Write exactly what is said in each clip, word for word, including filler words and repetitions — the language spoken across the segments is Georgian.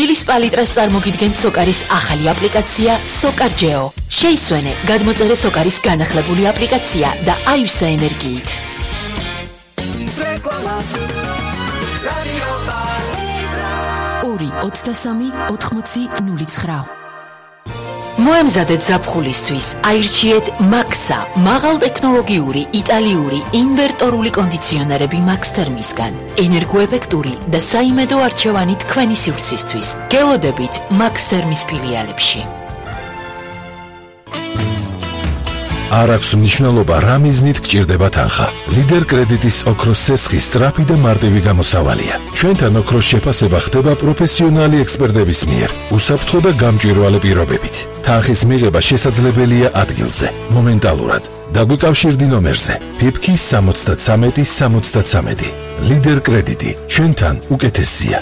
დილის პალიტრას წარმოგიდგენთ სოკარის ახალი აპლიკაცია SocarGeo. შეისვენე გადმოწერე სოკარის განახლებული აპლიკაცია და აივსე ენერგიით. ორი ოცდასამი ოთხმოცი ნული ცხრა. მოემზადეთ ზაფხულისთვის, აირჩიეთ Maxa, მაღალტექნოლოგიური იტალიური ინვერტორული კონდიციონერები Max Thermisგან. ენერგოეფექტური და საიმედო არჩევანი თქვენი სივრცისთვის. გელოდებით Max Thermis ფილიალებში. არ აქვს მნიშვნელობა რა მიზნით გჭირდება თანხა. ლიდერ კრედიტის ოქროს სესხი სწრაფი და მარტივი გამოსავალია. ჩვენთან ოქროს შეფასება ხდება პროფესიონალი ექსპერტების მიერ, უსაფრთხო და გამჭვირვალე პირობებით. თანხის მიღება შესაძლებელია ადგილზე, მომენტალურად. დაგვიკავშირდი ნომერზე ფიფკი სამოცდათსამეტი სამოცდათსამეტი. ლიდერ კრედიტი, ჩვენთან უკეთესია.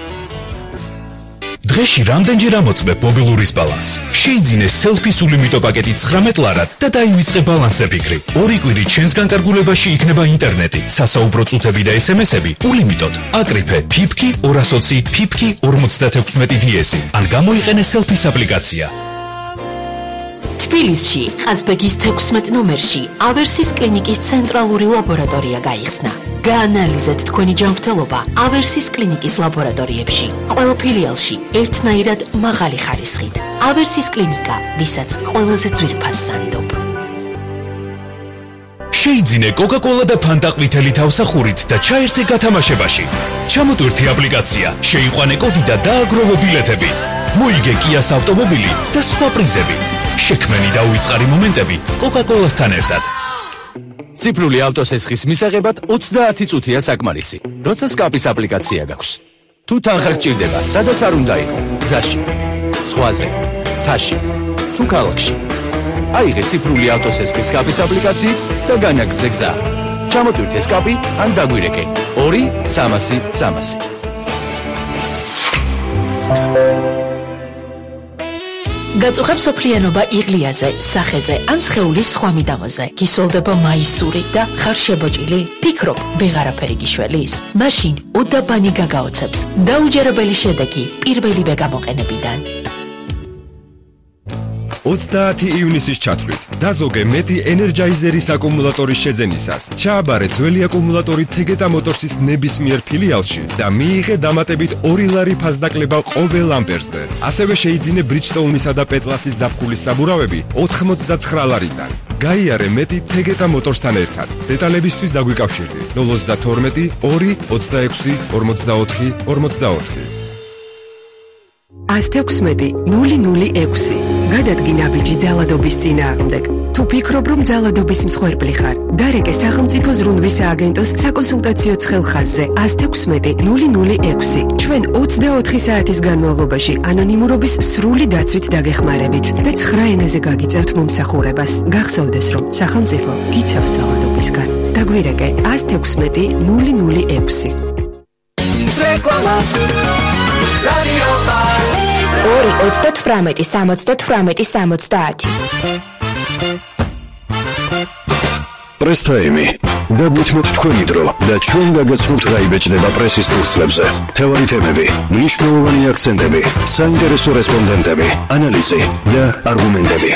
დღეში რამდენჯერ ამოწმებ მობილურის ბალანსს? შეიძინე სელფის ულიმიტო პაკეტი ცხრამეტ ლარად და დაივიწყე ბალანსზე ფიქრი. ორი კვირი ჩვენს განკარგულებაში იქნება ინტერნეტი, სასაუბრო წუთები და ესემესები ულიმიტოდ. აკრიფე ფიფკი ორას ოცი ფიფკი ორმოცდათექვსმეტი დიესი ან გამოიყენე სელფის აპლიკაცია. თბილისში, ყაზბეგის თექვსმეტ ნომერში ავერსის კლინიკის ცენტრალური ლაბორატორია გაიხსნა. გაანალიზეთ თქვენი ჯანმრთელობა ავერსის კლინიკის ლაბორატორიებში. ყველა ფილიალში ერთნაირად მაღალი ხარისხით. ავერსის კლინიკა, ვისაც ყველაზე ძვირფას სანდობ. შეიძინე კოკა-კოლა და ფანტა ყვითელი თავსახურით და ჩაერთე გათამაშებაში. ჩამოტვირთი აპლიკაცია, შეიყვანე კოდი და დააგროვე ბილეთები. მოიგე კიას ავტომობილი და სხვა პრიზები. შექმენი და უიწყარი მომენტები კოკა-კოლასთან ერთად. ციფრული ავტოსესხის მისაღებად ოცდაათი წუთია საკმარისი, როცა სკაპის აპლიკაცია გაქვს. თუ თანხა გჭირდება, სადაც არ უნდა იყო, გზაში, ზღვაზე, მთაში, თუ ქალაქში. აიღე ციფრული ავტოსესხის სკაპის აპლიკაციით და განაგრძე გზა. ჩამოტვირთე სკაპი ან დაგვირეკე ორი სამასი სამასი. გაწუხებს სოფლიანობა იღლიაზე, სახეზე ან სხეულის სხვა მიდამოზე. გისოლდება მაისური და ხარ შებოჭილი? ფიქრობ, ვეღარაფერი გიშველის? მაშინ უდაბანი გაგაოცებს. დაუჯერებელი შედეგი პირველივე გამოყენებიდან. ოცდაათი ივნისის ჩათვლით დაზოგე მეტი ენერჯაიზერის აკუმულატორის შეძენისას. ჩააბარე ძველი აკუმულატორი თეგეტა მოტორსის ნებისმიერ ფილიალში და მიიღე დამატებით ორი ლარი ფასდაკლება ყოველ ამპერზე. ასევე შეიძინე ბრიჯსტოუნისა და პეტლასის ზაფხულის საბურავები ოთხმოცდაცხრა ლარიდან. გაიარე მეტი თეგეტა მოტორსთან ერთად. დეტალებისთვის დაგვიკავშირდი ნულ ოცდათორმეტი ორი ოცდაექვსი ორმოცდაოთხი ორმოცდაოთხი. ას თექვსმეტი ნული ნული ექვსი. გადადგინა ბიჭი ძალადობის წინააღმდეგ. თუ ფიქრობ, რომ ძალადობის მსხვერპლი ხარ, დარეკე სახელმწიფო ზრუნვის სააგენტოს საკონსულტაციო ცხელხაზზე ას თექვსმეტი ნული ნული ექვსი. ჩვენ ოცდაოთხი საათის განმავლობაში ანონიმურობის სრული დაცვით დაგეხმარებით და ცხრა ენაზე გაგიწევთ მომსახურებას. გახსოვდეს, რომ სახელმწიფო გიცავს ძალადობისგან. დაგვირეკე ას თექვსმეტი ნული ნული ექვსი. ორი ოცდათვრამეტი სამოცდათვრამეტი სამოცდაათი. პრესტაიმი. დაგვითმოთ თქვენი დრო და ჩვენ გაგაცნობთ რა იბეჭდება პრესის ფურცლებზე. მთავარი თემები, მნიშვნელოვანი აქცენტები, საინტერესო რესპონდენტები, ანალიზი და არგუმენტები.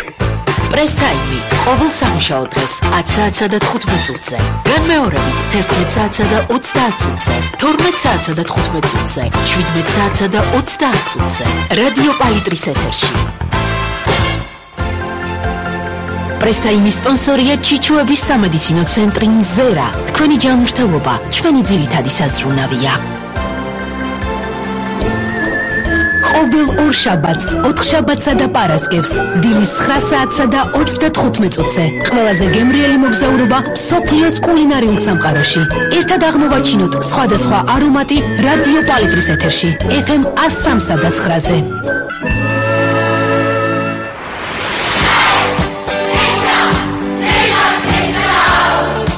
პრესაიმი ყოველ სამუშაო დღეს ათი საათსა და თხუთმეტ წუთზე. განმეორებით თერთმეტ საათსა და ოცდაათ წუთზე, თორმეტ საათსა და თხუთმეტ წუთზე, შვიდმეტ საათსა და ოცდაათ წუთზე. რადიო პალიტრის ეთერში. პრესაიმის სპონსორია ჩიჩუების სამედიცინო ცენტრი მზერა. თქვენი ჯანმრთელობა ჩვენი ძირითადი საზრუნავია. ყოველ ორ შაბათს, ოთხშაბათსა და პარასკევს, დილის ცხრა საათსა და ოცდათხუთმეტ წუთზე, ყველაზე გემრიელი მოგზაურობა მსოფლიოს კულინარიულ სამყაროში. ერთად აღმოვაჩინოთ სხვადასხვა არომატი რადიო პალიტრის ეთერში, ეფ ემ ას სამსა და ცხრაზე.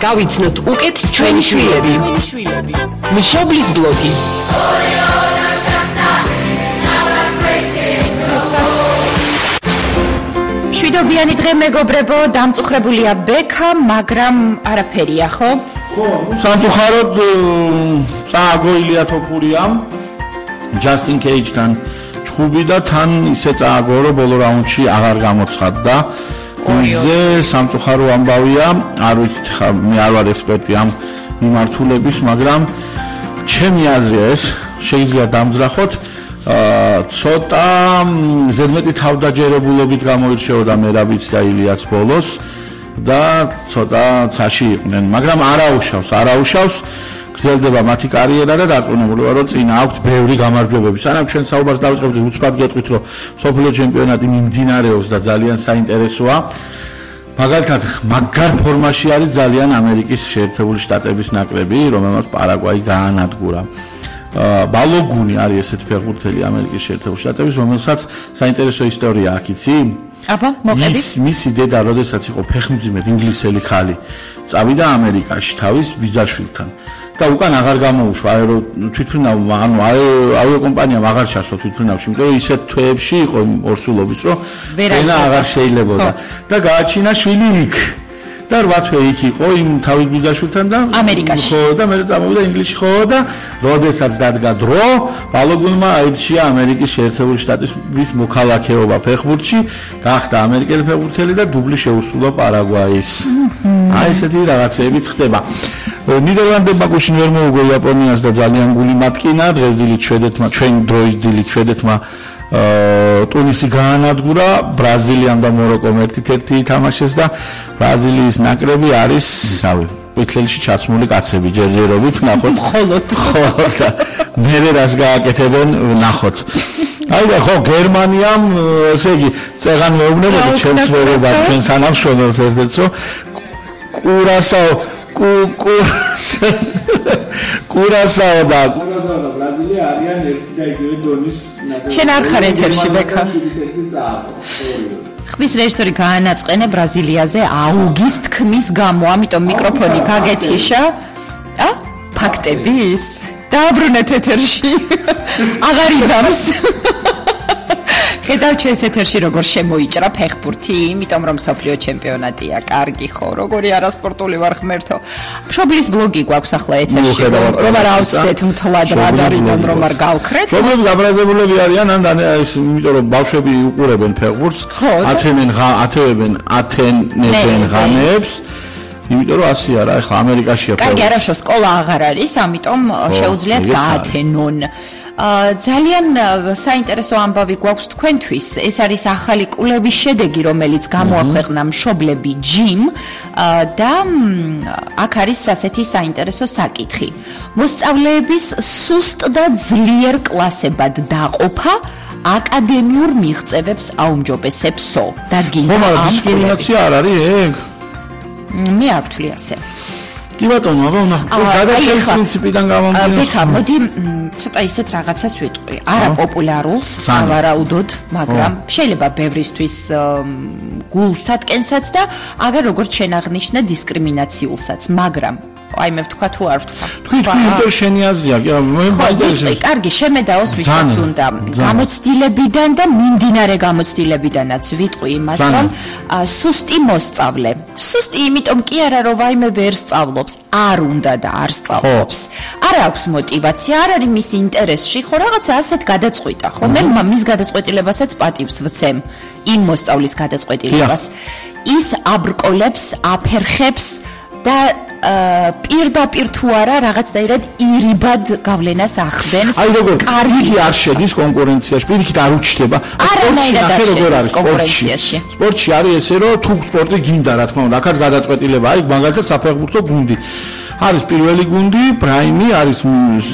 გავიცნოთ უკეთ ჩვენი შვილები. მშობლის ბლოგი. მშვიდობიანი დღე მეგობრებო, დამწუხრებულია ბექა, მაგრამ არაფერია, ხო? ხო, სამწუხაროდ წააგო ილია თოფურიამ ჯასტინ კეიჯთან ჩხუბი და თან ისე წააგო რომ ბოლო რაუნდში აღარ გამოცხადდა. ზე სამწუხარო ამბავია, არ ვიცი ხა მე არ ვარ ექსპერტი ამ მიმართულების, მაგრამ ჩემი აზრია ეს შეიძლება დამძრახოთ. ცოტა ზედმეტი თავდაჯერებულობით გამოირჩეოდა მერაბიც და ილიაც ბოლოს და ცოტა ცაში იყვნენ, მაგრამ არაუშავს, არაუშავს გრძელდება მათი კარიერა და დარწმუნებულობა რომ წინა აქვთ ბევრი გამარჯვებები. სანამ ჩვენ საუბარს დავიწყებთ, უცბად გეტყვით რომ სოფლიო ჩემპიონატი მიმდინარეობს და ძალიან საინტერესოა. მაგალითად, მაგარ ფორმაში არის ძალიან ამერიკის შეერთებული შტატების ნაკრები, რომელმაც პარაგვაი გაანადგურა. ბალოგუნი არის ესეთი ფეხბურთელი ამერიკის შეერთებული შტატების, რომელსაც საინტერესო ისტორია აქვს, იცი? აბა, მოყედით. ის მისი დედა, როდესაც იყო ფეხმძიმედ ინგლისელი ხალი, წავიდა ამერიკაში თავის ბიძაშვილთან. და უკან აღარ გამოუშვა აერო თვითმფრინავ, ანუ ავიაკომპანიამ აღარ ჩასვა თვითმფრინავში, იმიტომ რომ ისეთ თვეებში იყო ორსულობის, რომ ენა აღარ შეიძლებოდა და გააჩინა შვილი იქ. და რვა თვე იქ იყო იმ თავის ბიძაშვილთან და ამერიკაში. ხო და მე წამოვიდა ინგლისში ხო და როდესაც დადგა დრო, ბალოგუნმა აირჩია ამერიკის შეერთებული შტატების მოქალაქეობა ფეხბურთში, გახდა ამერიკელი ფეხბურთელი და დუბლი შეუსრულა პარაგვაის. აი ესეთი რაღაცეებიც ხდება. ნიდერლანდებმა გუშინ ვერ მოუგო იაპონიას და ძალიან გული მატკინა, დღეს დილით შვედეთმა, ჩვენ დროის დილით შვედეთმა ტუნისი გაანადგურა, ბრაზილიამ და მოროკომ ერთ-ერთი ითამაშეს და ბრაზილიის ნაკრები არის, რავი, ყვითელში ჩაცმული კაცები ჯერჯერობით, ნახოთ. მხოლოდ ხო და მერე რას გააკეთებენ, ნახოთ. აი და ხო გერმანიამ, ესე იგი, წეღან მეუბნებოდი ჩემს მეგობრებს, ჩვენ თანამშრომელს ერთ-ერთს, რომ კურასაო კურასაო კურასაო და კურასაო და ბრაზილია არიან ერთი და იგივე დონის ნაკრები. შენ არ ხარ ეთერში ბექა. ხმის რეჟისორი გაანაწყენა ბრაზილიაზე აუგის თქმის გამო, ამიტომ მიკროფონი გაგეთიშა. ა? ფაქტების? დააბრუნეთ ეთერში. აღარ იზამს. ხედავ ჩვენს ეთერში როგორ შემოიჭრა ფეხბურთი, იმიტომ რომ სოფლიო ჩემპიონატია, კარგი ხო, როგორი არასპორტული ვარ ღმერთო. მშობლის ბლოგი გვაქვს ახლა ეთერში, რომ არ ავწდეთ მთლად რადარიდან რომ არ გავქრეთ. მშობლის გაბრაზებულები არიან, ან ის, იმიტომ რომ ბავშვები უყურებენ ფეხბურთს, ათენენ ათევებენ ათენებენ ღამეებს. იმიტომ რომ ასე არა, ახლა ამერიკაშია ფეხბურთი. კარგი, არაშო სკოლა აღარ არის, ამიტომ შეუძლიათ გაათენონ. ძალიან საინტერესო ამბავი გვაქვს თქვენთვის. ეს არის ახალი კვლევის შედეგი, რომელიც გამოაქვეყნა მშობლები ჯიმ და აქ არის ასეთი საინტერესო საკითხი. მოსწავლეების სუსტ და ძლიერ კლასებად დაყოფა აკადემიურ მიღწევებს აუმჯობესებსო. დადგინდა ამ დისკრიმინაცია არ არის ეგ? მე არ ვთვლი ასე. კი ბატონო, აბა უნდა გადაშლის პრინციპიდან გამომდინარე. ბექა, მოდი ცოტა ისეთ რაღაცას ვიტყვი. არაპოპულარულს, სავარაუდოდ, მაგრამ შეიძლება ბევრისთვის გულსატკენსაც და აგერ როგორც შენ აღნიშნე დისკრიმინაციულსაც, მაგრამ აი მე ვთქვა თუ არ ვთქვა. თქვი თქვი იმიტომ შენი აზრია, მე მაინტერესებს. კარგი, შემედაოს ვისაც უნდა. გამოცდილებიდან და მიმდინარე გამოცდილებიდანაც ვიტყვი იმას, რომ სუსტი მოსწავლე. სუსტი იმიტომ კი არა, რომ ვაიმე ვერ სწავლობს, არ უნდა და არ სწავლობს. არ აქვს мотиваცია, არ არის მის ინტერესში, ხო რაღაცა ასეთ გადაწყვიტა, ხო? მე მის გადაწყვეტილებასაც პატივს ვცემ, იმ მოსწავლის გადაწყვეტილებას. ის აბრკოლებს, აფერხებს და პირდაპირ თუ არა რაღაცნაირად ირიბად გავლენას ახდენს. აი როგორ კარგი არ შედის კონკურენციაში, პირიქით არ უჩნდება. არანაირად არ შედის კონკურენციაში. სპორტში არის ესე, რომ თუ სპორტი გინდა, რა თქმა უნდა, აქაც გადაწყვეტილება, აი მაგალითად საფეხბურთო გუნდი. არის პირველი გუნდი, პრაიმი, არის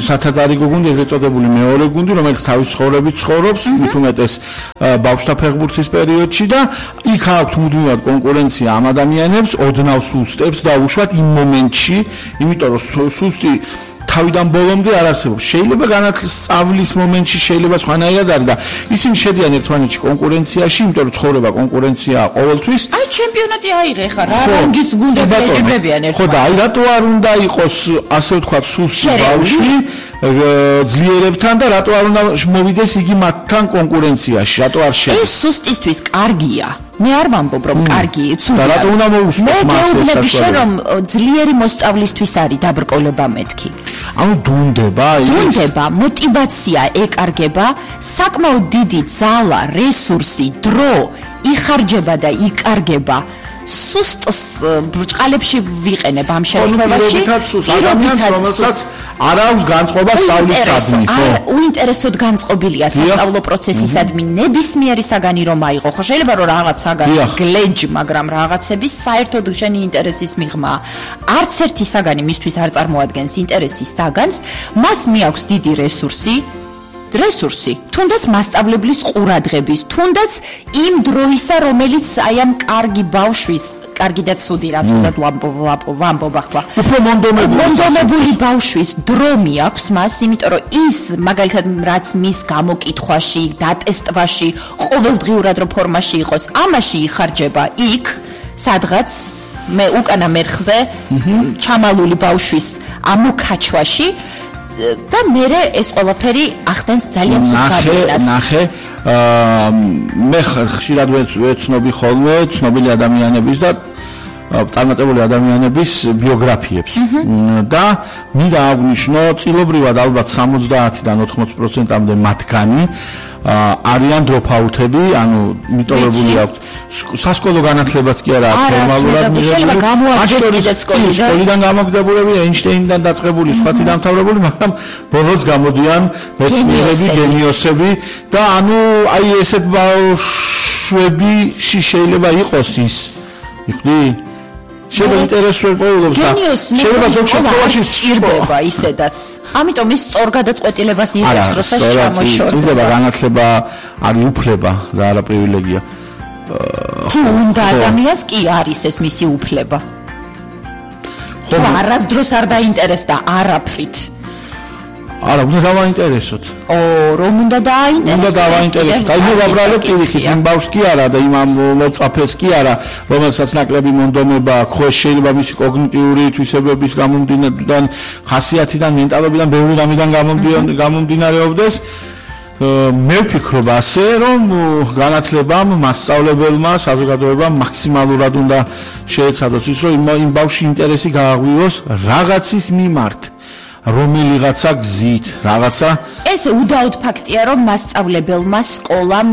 სათადარიგო გუნდი, ეგრეთ წოდებული მეორე გუნდი, რომელიც თავის ცხოვრებით ცხოვრობს, მით უმეტეს ბავშვთა ფეხბურთის პერიოდში და იქ აქვს მუდმივად კონკურენცია ამ ადამიანებს, ოდნავ სუსტებს და უშუალოდ იმ მომენტში, იმიტომ რომ სუსტი თავიდან ბოლომდე არ არსებობს. შეიძლება განათლის სწავლის მომენტში შეიძლება სხვანაირად არის და ისინი შედიან ერთმანეთში კონკურენციაში, იმიტომ რომ ცხოვრება კონკურენციაა ყოველთვის. აი ჩემპიონატი აიღე ხა რა რანგის გუნდები ეჯიბრებიან ერთმანეთს. ხო და აი რატო არ უნდა იყოს ასე ვთქვათ სუსტი ბავშვი ძლიერებთან და რატო არ უნდა მოვიდეს იგი მათთან კონკურენციაში? რატო არ შეიძლება? ეს სუსტისთვის კარგია. მე არ ვამბობ რომ კარგი ცუდია. და რატომ უნდა მოусმოთ მას ეს მე შენ რომ ძლიერი მოსწავლისთვის არის დაბრკოლება მეთქი. ანუ დუნდება ის დუნდება, мотиваცია ეკარგება, საკმაოდ დიდი ძალა, რესურსი, დრო იხარჯება და იკარგება. სუსტს ბრჭყალებში ვიყენებ ამ შემთხვევაში. ადამიანს რომელსაც არ აქვს განწყობა სწავლისადმი, ხო? უინტერესოდ განწყობილია სასწავლო პროცესისადმი ნებისმიერი საგანი რომ აიღო. ხო შეიძლება რომ რაღაც საგანი გლეჯ, მაგრამ რაღაცების საერთოდ შენი ინტერესის მიღმა. არც ერთი საგანი მისთვის არ წარმოადგენს ინტერესის საგანს, მას მიაქვს დიდი რესურსი. რესურსი, თუნდაც მასწავლებლის ყურადღების, თუნდაც იმ დროისა, რომელიც აი ამ კარგი ბავშვის, კარგი და ცუდი რაც უნდა ვამბობ ახლა. უფრო მონდომებული მონდომებული ბავშვის დრო მიაქვს მას, იმიტომ რომ ის მაგალითად რაც მის გამოკითხვაში, დატესტვაში, ყოველდღიურად რო ფორმაში იყოს, ამაში იხარჯება იქ, სადღაც მე უკანა მერხზე ჩამალული ბავშვის ამოქაჩვაში და მე ეს ყველაფერი ახდენს ძალიან ცუდ გავლენას. ნახე, მე ხშირად ვეცნობი ხოლმე ცნობილი ადამიანების და წარმატებული ადამიანების ბიოგრაფიებს და მინდა აღვნიშნო, წილობრივად ალბათ სამოცდაათიდან ოთხმოცი პროცენტამდე მათგანი არიან დროპაუთები, ანუ მიტოვებული აქვთ სასკოლო განათლებაც კი არა ფორმალურად მიღებული, სკოლიდან გამოგდებულები, ეინშტეინიდან დაწყებული, სხვათი დამთავრებული, მაგრამ ბოლოს გამოდიან მეცნიერები, გენიოსები და ანუ აი ესეთ ბავშვები შეიძლება იყოს ის. იხვდი? შეიძლება ინტერესული პოულობს და შეიძლება ზოგადად სჭირდება ისედაც. ამიტომ ის სწორ გადაწყვეტილებას იღებს, როცა ჩამოშორდება. სჭირდება განათლება არის უფლება და არა პრივილეგია. თუ უნდა ადამიანს კი არის ეს მისი უფლება. თუ არასდროს არ დაინტერესდა არაფრით. არა, უნდა დავაინტერესოთ. ო, რომ უნდა დააინტერესოთ. უნდა დავაინტერესოთ. აი მე ვაბრალებ პირიქით, იმ ბავშვს კი არა და იმ მოწაფეს კი არა, რომელსაც ნაკლები მონდომება აქვს, ხო შეიძლება მისი კოგნიტიური თვისებების გამომდინარე, ხასიათიდან, მენტალობიდან, ბევრი რამიდან გამომდინარეობდეს. მე ვფიქრობ ასე, რომ განათლებამ, მასწავლებელმა, საზოგადოებამ მაქსიმალურად უნდა შეეცადოს ის, რომ იმ ბავშვში ინტერესი გააღვიოს რაღაცის მიმართ. რომელიღაცა გზით, რაღაცა ეს უდაოდ ფაქტია, რომ მასწავლებელმა სკოლამ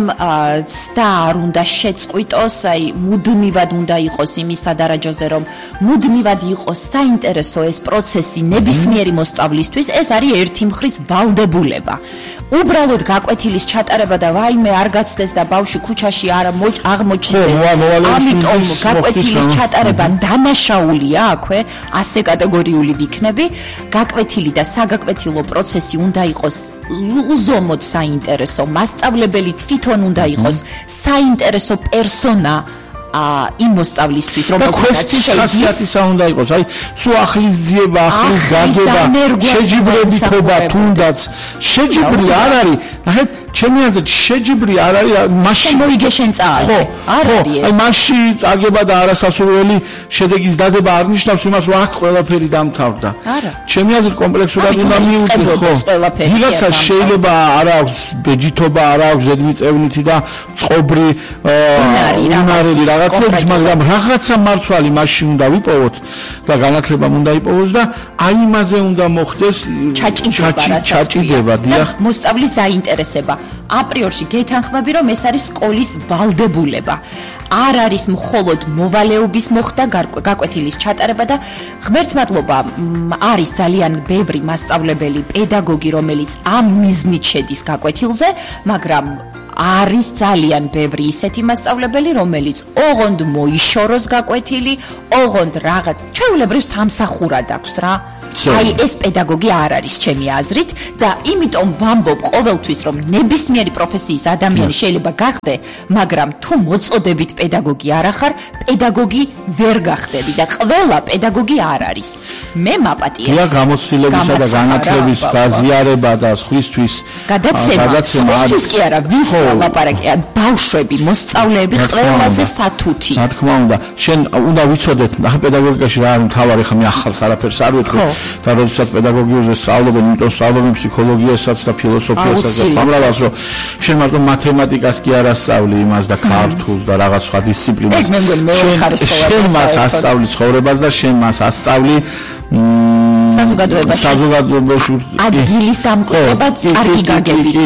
ცდა არ უნდა შეწყვიტოს, აი მუდმივად უნდა იყოს იმის სადარაჯოზე, რომ მუდმივად იყოს საინტერესო ეს პროცესი ნებისმიერი მოსწავლისთვის, ეს არის ერთი მხრის ვალდებულება. უბრალოდ გაკვეთილის ჩატარება და ვაიმე არ გაცდეს და ბავშვი ქუჩაში არ აღმოჩნდეს. ამიტომ გაკვეთილის ჩატარება დანაშაულია აქვე, ასე კატეგორიული ვიქნები. გაკვეთილი და საგაკვეთილო პროცესი უნდა იყოს უზომოდ საინტერესო, მასწავლებელი თვითონ უნდა იყოს საინტერესო პერსონა იმ მოსწავლისთვის, რომელსაც ხასიათისა უნდა იყოს. აი, სულ ახლის ძიება, ახლის გაგება, შეჯიბრებითობა თუნდაც შეჯიბრი არ არის. ნახეთ, ჩემი აზრით შეჯიბრი არ არის, მაშინ მოიგე შენ წააგე. არ არის ეს. აი, მაშინ წაგება და არასასურველი შედეგის დადება არ ნიშნავს იმას, რომ აქ ყველაფერი დამთავრდა. არა. ჩემი აზრით კომპლექსურად უნდა მიუღოს. ვიღაცა შეიძლება არ აქვს ბეჯითობა, არ აქვს ზედმიწევნითი და წყობრი უნარები რაღაცები, მაგრამ რაღაცა მარცვალი მაშინ უნდა ვიპოვოთ და განათლებამ უნდა იპოვოს და აი იმაზე უნდა მოხდეს ჩაჭიდება, დიახ, მოსწავლის დაინტერესება. აპრიორში გეთანხმები, რომ ეს არის სკოლის ვალდებულება. არ არის მხოლოდ მოვალეობის მოხდა გაკვეთილის ჩატარება და ღმერთს მადლობა, არის ძალიან ბევრი მასწავლებელი, პედაგოგი, რომელიც ამ მიზნით შედის გაკვეთილზე, მაგრამ არის ძალიან ბევრი ისეთი მასწავლებელი, რომელიც ოღონდ მოიშოროს გაკვეთილი, ოღონდ რაღაც ჩვეულებრივ სამსახურად აქვს რა. აი ეს პედაგოგი არ არის ჩემი აზრით და იმიტომ ვამბობ ყოველთვის, რომ ნებისმიერი პროფესიის ადამიანი შეიძლება გახდე, მაგრამ თუ მოწოდებით პედაგოგი არ ახარ, პედაგოგი ვერ გახდები და ყველა პედაგოგი არ არის. მე მაპატიებს. რა გამოცდილებისა და განათლების გაზიარება და სხვისთვის გადაცემა, სხვისთვის კი არა, ვის ლაპარაკია, ბავშვები, მოსწავლეები ყველაზე სათუთი. რა თქმა უნდა, შენ უნდა ვიცოდეთ, ახლა პედაგოგიკაში რა არის მთავარი, ხა მე ახალს არაფერს არ ვეთქვი. და როდესაც პედაგოგიურზე სწავლობენ, იმიტომ სწავლობენ ფსიქოლოგიასაც და ფილოსოფიასაც და სამრავალს, რომ შენ მარტო მათემატიკას კი არ ასწავლი იმას და ქართულს და რაღაც სხვა დისციპლინას. შენ მას ასწავლი ცხოვრებას და შენ მას ასწავლი საზოგადოებაში. საზოგადოებაში ადგილის დამკვირვება კარგი გაგებით.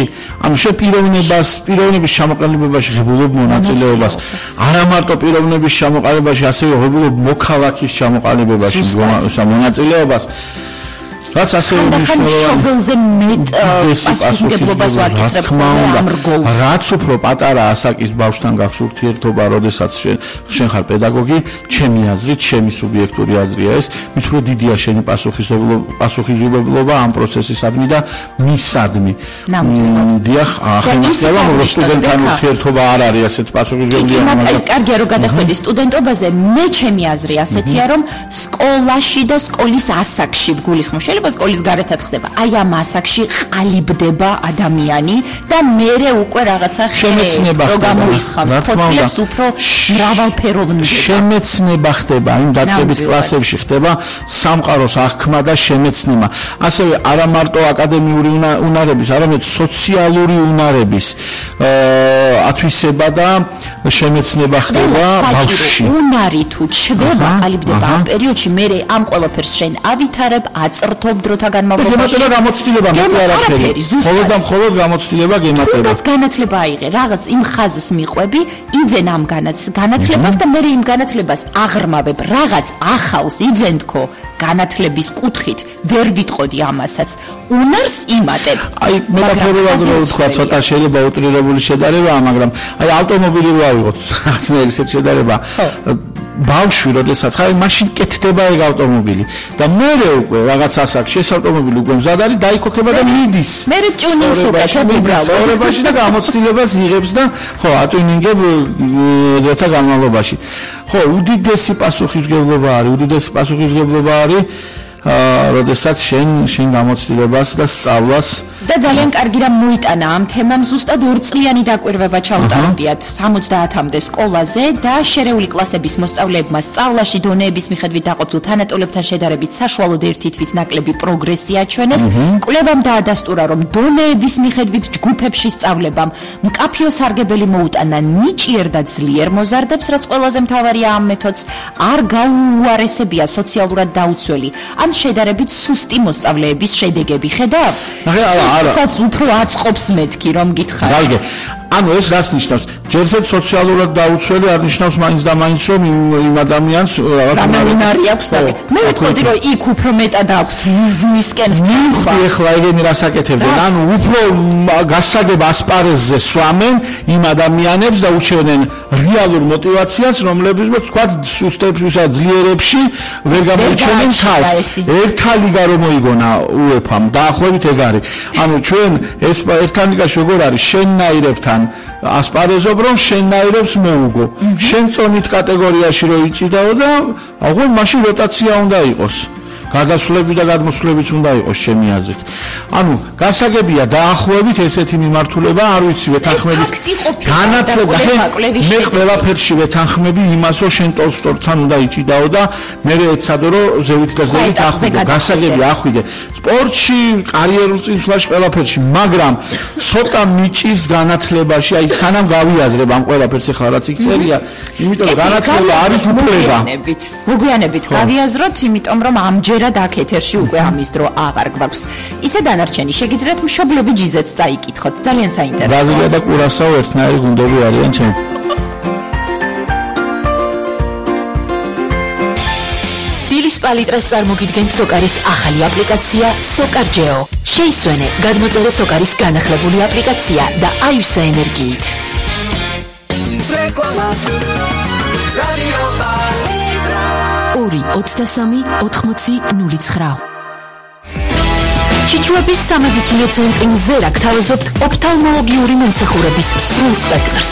ანუ შე პიროვნებას, პიროვნების ჩამოყალიბებაში ღებულობ მონაწილეობას, არა მარტო პიროვნების ჩამოყალიბებაში, ასევე ღებულობ მოქალაქის ჩამოყალიბებაში მონაწილეობას. რაც ასევე მნიშვნელოვანია მეტ პასუხისმგებლობას ვაკისრებ ხოლმე ამ რგოლს. რაც უფრო პატარა ასაკის ბავშვთან გახს ურთიერთობა, როდესაც შენ შენ ხარ პედაგოგი, ჩემი აზრით, ჩემი სუბიექტური აზრია ეს, მით უფრო დიდია შენი პასუხისმგებლობა ამ პროცესისადმი და მისადმი. დიახ, ახლა ისწავლა, რომ სტუდენტთან ურთიერთობა არ არის ასეთ პასუხისმგებლობა. მაგრამ კარგია რომ გადახვედი სტუდენტობაზე, მე ჩემი აზრი ასეთია, რომ სკოლაში და სკოლის ასაკში გულისხმობს სკოლის გარეთაც ხდება. აი ამ ასაკში ყალიბდება ადამიანი და მერე უკვე რაღაცა შემეცნება რო გამოისხამს. ფოთლებს უფრო მრავალფეროვნდება. შემეცნება ხდება, იმ დაწყებით კლასებში ხდება სამყაროს აღქმა და შემეცნება. ასევე არა მარტო აკადემიური უნარების, არამედ სოციალური უნარების ათვისება და შემეცნება ხდება ბავშვში. უნარი თუ ჩდება, ყალიბდება ამ პერიოდში, მერე ამ ყველაფერს შენ ავითარებ, აწრთო დროთა განმავლობაში. გემატება გამოცდილება მეტი არაფერი. მხოლოდ და მხოლოდ გამოცდილება გემატება. თუნდაც განათლება აიღე, რაღაც იმ ხაზს მიყვები, იძენ ამ განათლებას და მე იმ განათლებას აღრმავებ, რაღაც ახალს იძენ თქო განათლების კუთხით, ვერ ვიტყოდი ამასაც. უნარს იმატებ. აი მეტაფორულად რო ვთქვა, ცოტა შეიძლება უტრირებული შედარებაა, მაგრამ აი ავტომობილი რო ავიღოთ, რაღაცნაირი ესეთ შედარება. ბავშვი, როდესაც ხარ, მაშინ კეთდება ეგ ავტომობილი და მერე უკვე რაღაც ასაკში ეს ავტომობილი უკვე მზად არის, დაიქოქება და მიდის. მერე ტიუნინგს უკეთებ უბრალოდ. ცხოვრებაში და გამოცდილებას იღებს და ხო, ატიუნინგებ დროთა განმავლობაში. ხო, უდიდესი პასუხისმგებლობა არის, უდიდესი პასუხისმგებლობა არის როდესაც შენ შენ გამოცდილებას და სწავლას და ძალიან კარგი რამ მოიტანა ამ თემამ ზუსტად ორწლიანი დაკვირვება ჩაუტარებიათ სამოცდაათამდე სკოლაზე და შერეული კლასების მოსწავლეებმა სწავლაში დონეების მიხედვით დაყოფილ თანატოლებთან შედარებით საშუალოდ ერთი თვით ნაკლები პროგრესი აჩვენეს. კვლევამ დაადასტურა, რომ დონეების მიხედვით ჯგუფებში სწავლებამ მკაფიო სარგებელი მოუტანა ნიჭიერ და ძლიერ მოზარდებს, რაც ყველაზე მთავარია ამ მეთოდს არ გაუარესებია სოციალურად დაუცველი ან შედარებით სუსტი მოსწავლეების შედეგები. ხედავ? სუსტსაც უფრო აწყობს მეთქი, რომ გითხარ. გაიგე. ანუ ეს რას ნიშნავს? ჯერჯერობით სოციალურად დაუცველი არ ნიშნავს მაინც და მაინც რომ იმ ადამიანს რამე უნარი აქვს და მე ვიტყოდი რომ იქ უფრო მეტად აქვთ მიზნისკენ სწრაფვა. ეხლა ეგენი რას აკეთებდნენ? ანუ უფრო გასაგებ ასპარეზზე სვამენ იმ ადამიანებს და უჩვენენ რეალურ мотиваციას, რომლებიც თქვა სუსტებსა ძლიერებში ვერ გამოიჩენენ თავს. ერთა ლიგა რომ მოიგონა უეფამ დაახლოებით ეგ არის. ანუ ჩვენ ეს ერთა ლიგაში როგორ არის შენნაირებთან ასპარეზობ რომ შენნაირებს მოუგო. შენ წონით კატეგორიაში რო იჭიდაო და აღარ მაშინ როტაცია უნდა იყოს. გადასვლები და გადმოსვლებიც უნდა იყოს ჩემი აზრით. ანუ გასაგებია დაახლოებით ესეთი მიმართულება, არ ვიცი ვეთანხმები. განათლება მე ყველაფერში ვეთანხმები იმას, რომ შენ ტოლსტოითან უნდა იჭიდაო და მე ეცადო რომ ზევით და ზევით ახვიდე. გასაგებია ახვიდე. სპორტში, კარიერულ წინსვლაში ყველაფერში, მაგრამ ცოტა მიჭირს განათლებაში, აი სანამ გავიაზრებ ამ ყველაფერს ახლა რაც იქ წერია, იმიტომ რომ განათლება არის უფლება. მოგვიანებით გავიაზროთ, იმიტომ რომ ამჯერ და აქ ეთერში უკვე ამის დრო აღარ გვაქვს. ისე დანარჩენი შეგიძლიათ მშობლები ჯიზეც წაიკითხოთ. ძალიან საინტერესოა. ბრაზილია და კურასაო ერთნაირი გუნდები არიან ჩემ. დილის პალიტრას წარმოგიდგენთ სოკარის ახალი აპლიკაცია სოკარჯეო. შეისვენე, გადმოწერე სოკარის განახლებული აპლიკაცია და აივსე ენერგიით. ორი ოცდასამი ოთხმოცი ნული ცხრა. ჩიჩუების სამედიცინო ცენტრი მზერა გთავაზობთ ოფთალმოლოგიური მომსახურების სრულ სპექტრს.